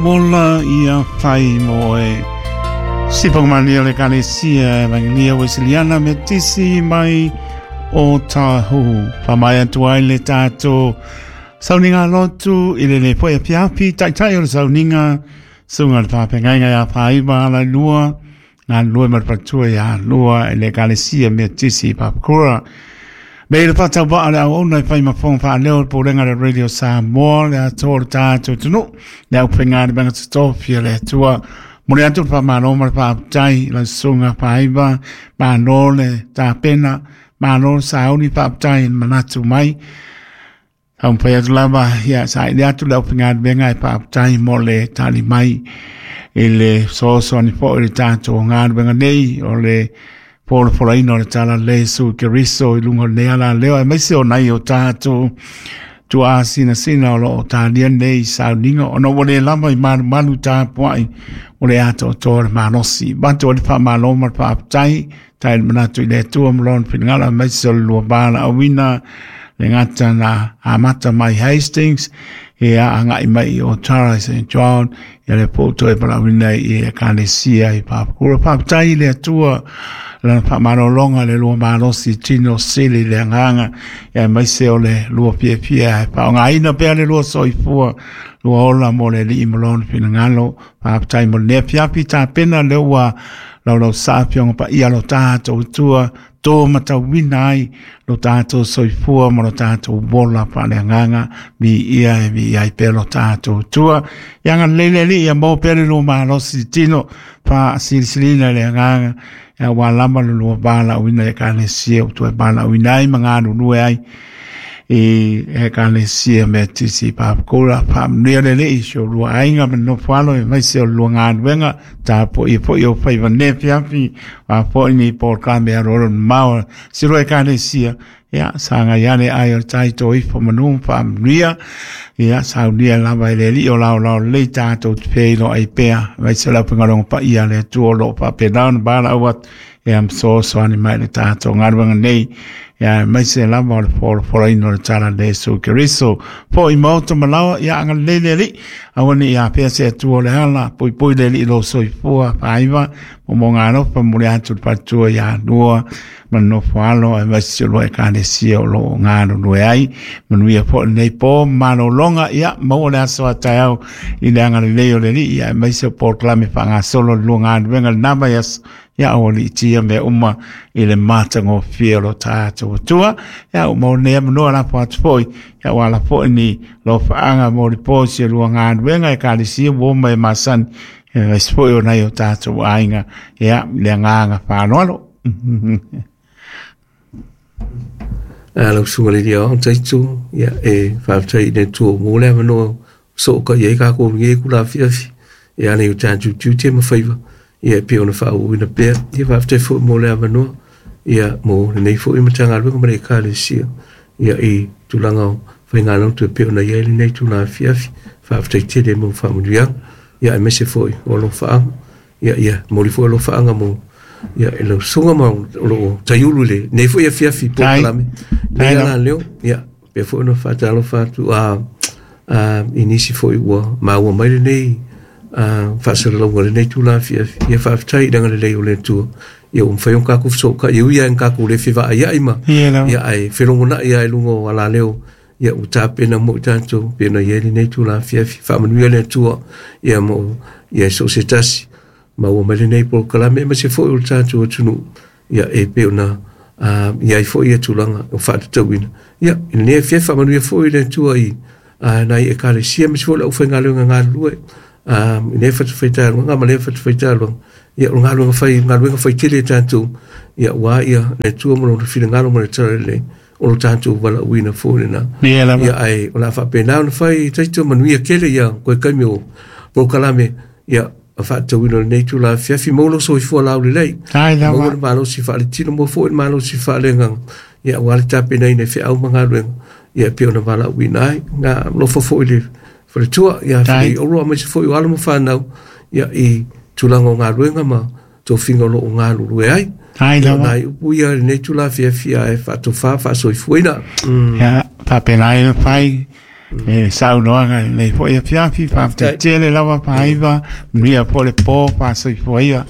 Ola ia fai mo e Sipakumani o le Ekalesia Evangelia Weseliana Metisi mai o Tāhuhu. Whamai atu ai le tātou sauniga lotu i le le poe apiapi, taitai o le sauniga, sunga le pāpengainga ia whaiva ala lua, ngā lua ma le patua ia lua e le Ekalesia Metisi Papakura. Me le whātau waa le au ona i whai mafonga whaaleo le pōrenga le Radio Samoa le atoa le tātou tunu le au penga le manga tōpia le atua mo le atu le whamalo ma le whaaptai la sunga whaiva māno le tāpena māno le sauni whaaptai manatu mai Au pai atu lava ia sa i le atu le au penga le menga e whaaptai mo le tali mai i le soso ani po i le tātou ngā wenga nei o le polopolaina o le tala le su Keriso i lunga o le ala leo e maise o nai o tātou tua sina sina o lo o tālia nei sauniga ona ua le lava i malumalu tapuaʻi o le atoatoa le malosi matou o le faamālō ma le faafetai tai le manatu i le Atua ma lona finagalo aemaise o le lua valaauina le gata na amata mai Hastings ia agai mai i Otara i St John ia le po toe valaauina i Ekalesia i Papakura. Faafetai i le Atua lana faamalologa le lua malosi tino sili le agaga ia aemaise o le lua fiafia e faaaogaina pea le lua soifua lua ola mo le Alii ma lona finagalo. Faafetai mo lenei afiafi tapena lea ua laulausa afioga paia lo tatou Atua tō matauina ai lo tātou soifua ma lo tātou ola faaleagaga mi ia e mi ai pea lo tātou tua. Ia agalelei le Alii ia maua pea le lua malosi tino faasilisilina le agaga ia ua lava le lua valaauina i Ekalesia ua toe valaauina ai ma galulue ai i Ekalesia Metisi Papakura. Faamanuia le Alii i si o lua aiga ma le nofo alo aemaise o le lua galuega tapuaia foi o faiva nei afiafi a foi ni polokalame aloalo mamao si lua Ekalesia. Ia sagai ane ai o le tai tō ifo manu ma faamanuia. Ia saunia lava e le Alii o laolao lelei tātou te feiloai ai pea aemaise o le aufaigaluega paia a le Atua o lo o faapena ona valaau atu ia ma fesoasoani mai i le tātou galuega nei ia aemaise lava o le folafolaina o le tala le Iesu Keriso. Foʻi maota ma laoa ia agalelei le Alii aua ne i afea se Atua o le ala poipoi le Alii i lou soifua faaiva momoga alofa momoli atu le faletua ia Lua ma le nofo alo aemaise si o lua Ekalesia o lo o galulue ai. Manuia foi lenei po ma malologa ia maua le aso a taeao i le agalelei o le Alii ia aemaise o polokalame faagasolo le lua galuega lena vaiaso ia aua liitia mea uma i le matagofie o lo tatou Atua. Ia ua maua nei avanoa lafo atu foi ia ua ala foi ni lofaaga mo le po si o lua galuega Ekalesia ua oma e masani aemaise foi o nai o tatou aiga ia le agaga faaaloalo. A lau susuga i le Alii Aoao Taito, ia e faafetai i le Atua mo le avanoa sootaia ai kākou i lenei itula afiafi e ala i o tatou tiute ma faiva ia e pei ona faaauauina pea. Ia faafetai foi mo le avanoa ia mo lenei foi Matagaluega ma le Ekalesia ia i tulaga o faigalotu e pei ona i ai lenei itula afiafi. Faafetai tele mo faamanuiaga ia aemaise foi o alofaaga ia ia momoli foi alofaaga mo ia i lau susuga ma o lo o taiulu i lenei foi afiafi polokalame nei ala leo ia pea foi ona faatalofa atu a i nisi foi ua maua mai lenei faasalalauga i lenei itula afiafi. Ia faafetai i le agalelei o le Atua ia ua mafai ona tatou fesootai e ui lava ina tatou le fevaaiai ma ia ae felogonai lava i luga o alaleo ia ua tapena mo i tatou pei ona i ai lenei itula afiafi. Faamanuia le Atua ia mo ia so o se tasi maua mai lenei polokalame aemaise foi o le tatou atunuu ia e pei ona i ai foi ia tulaga o faatatauina. Ia, i lenei afiafi faamanuia foi le Atua i nai Ekalesia aemaise foi o le aufaigaluega galulue i lea fatafaitaluga ma lea fatafaitaluga. Ia, o le galuega fai, galuega fai tele a tatou, ia, aua ia le Atua ma lona finagalo ma le talalelei o lo tatou valaauina foi lena. Ia lava. Ia, ae o le a faapena ona fai taito manuia tele ia koe taimi o polokalame, ia, a faatatauina o lenei itula afiafi, maua lou soifua laulelei, Ai lava. maua le malosi faaletino, maua foi le malosi faaleagaga, ia, aua le tapenaina i feau ma galuega, ia, e pei ona valaauina ai. Na alofa foi le faletua ia Tai. Felei Olo aemaise foi o alo ma fanau, ia, i tulaga o galuega ma tofiga o lo o galulue ai. Ai Ia, o lava. nai upu ia i lenei itula afiafi ae faatofa faasoifuaina. Ia, faapena ai ona fai. E saunoaga i lenei foi afiafi. Faafetai tele lava Faiva, manuia foi le po, faasoifua ia.